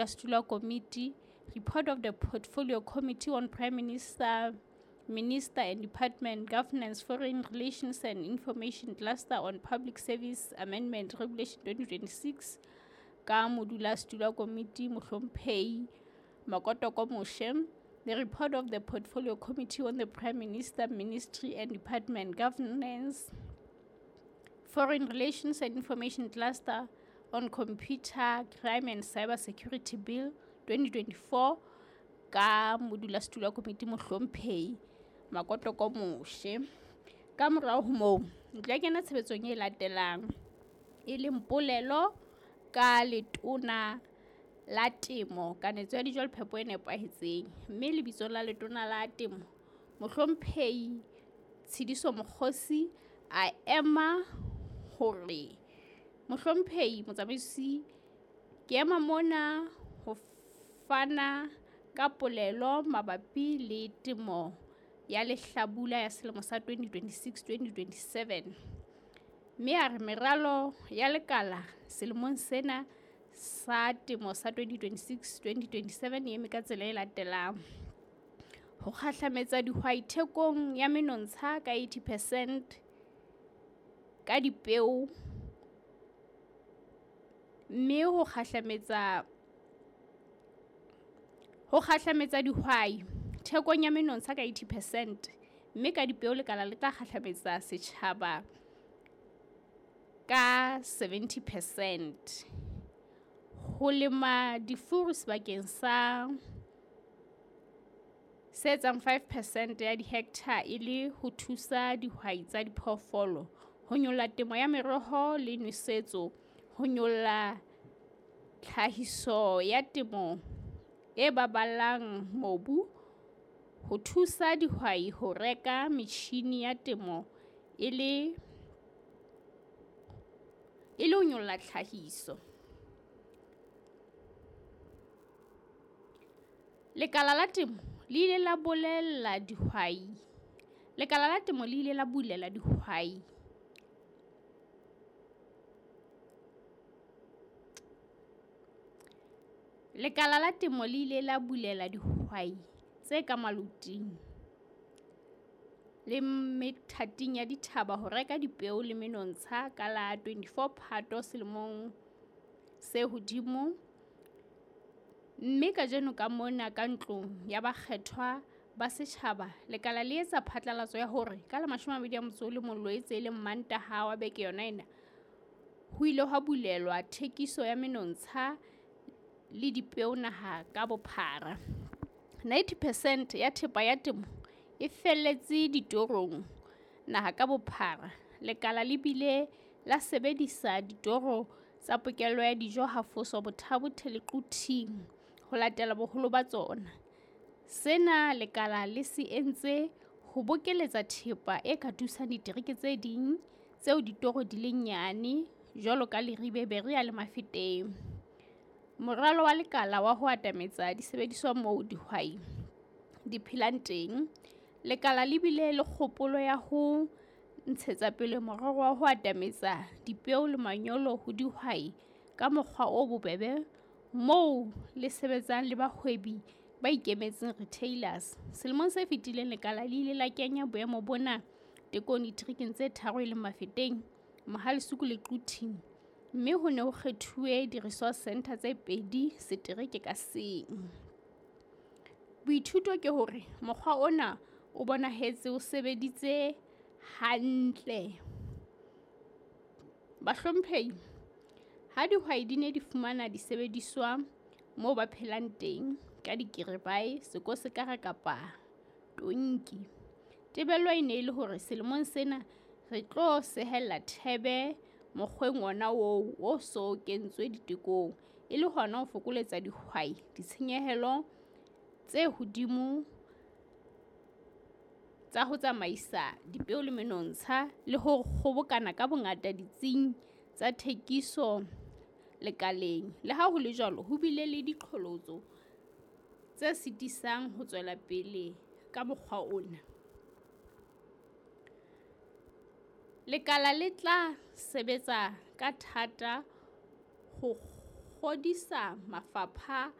Modulasetulo wa komiti, Report of the Portfolio Committee on Prime Minister, Minister and Department Governance, Foreign Relations and Information Cluster on Public Service Amendment Regulation 2026 ka modulasetulo wa komiti Mohlomphehi Makotoko Moshe. The report of the Portfolio Committee on the Prime Minister, Ministry and Department Governance, Foreign Relations and Information Cluster on Computer Crime and Cyber Security Bill 2024 ka modulasetulo wa komiti Mohlomphehi Makotoko Moshe. Ka morao ho moo, ntlo ya kena tshebetsong e latelang, e leng polelo ka letona la temo, kanetso ya dijo le phepo e nepahetseng. Mme lebitsong la letona la temo, Mohlomphehi Tshidiso Mokgosi a ema hore, Mohlomphehi Motsamaisi, ke ema mona ho fana ka polelo mabapi le temo ya lehlabula ya selemo sa 2026-2027. Mme a re meralo ya lekala selemong sena sa temo sa 2026-2027 e eme ka tsela e latelang. Ho kgahlametsa dihwai thekong ya menontsha ka 80 percent ka dipeo, mme ho kgahlametsa dihwai thekong ya menontsha ka 80 percent, mme ka dipeo lekala le tla kgahlametsa setjhaba ka 70 percent. Ho lema difuru sebakeng sa se etsang 5 percent ya dihekthara e le ho thusa dihwai tsa diphoofolo, ho nyolla temo ya meroho le nosetso, ho nyolla tlhahiso ya temo e baballang mobu, ho thusa dihwai ho reka metjhine ya temo e le ho nyolla tlhahiso. Lekala la temo le ile la bolella dihwai Lekala la temo le ile la bulela dihwai. Lekala la temo le ile la bulela dihwai tse ka maloting le methating ya dithaba ho reka dipeo le menontsha ka la 24 Phato selemong se hodimo, mme kajeno ka mona ka Ntlong ya Bakgethwa ba Setjhaba, lekala le etsa phatlalatso ya hore ka la 21 Loetse e leng Mantaha wa beke yona ena, ho ile hwa bulelwa thekiso ya menontsha le dipeo naha ka bophara. 90 percent ya thepa ya temo e felletse ditorong naha ka bophara. Lekala le bile la sebedisa ditoro tsa pokello ya dijo Hafoso, Botha-Bothe le Quthing ho latela boholo ba tsona. Sena lekala le se entse ho bokeletsa thepa e ka thusang ditereke tse ding tseo ditoro di leng nyane jwalo ka Leribe, Berea le Mafeteng. Moralo wa lekala wa ho atametsa disebediswa moo dihwai di phelang teng. Lekala le bile le kgopolo ya ho ntshetsa pele morero wa ho atametsa dipeo le manyolo ho dihwai ka mokgwa o bobebe moo le sebetsang le bahwebi ba ikemetseng retailers. Selemong se fetileng lekala le ile la kenya boemo bona tekong diterekeng tse tharo e leng Mafeteng, Mohale's Hoek le Quthing, mme ho ne ho kgethuwe di-resource centre tse pedi setereke ka seng. Boithuto ke hore mokgwa ona o bonahetse o sebeditse hantle. Bahlomphehi, ha dihwai di ne di fumana disebediswa moo ba phelang teng ka dikiribae, sekosekara kapa tonki, tebello e ne e le hore selemong sena re tlo sehella thebe mokgweng wona oo o so kentswe ditekong, e le hona ho fokoletsa dihwai ditshenyehelo tse hodimo tsa ho tsamaisa dipeo le menontsha le ho kgobokana ka bongata ditsing tsa thekiso lekaleng. Le ha ho le jwalo, ho bile le diqholotso tse sitisang ho tswela pele ka mokgwa ona. Lekala le tla sebetsa ka thata ho Ho ngodisa mafapha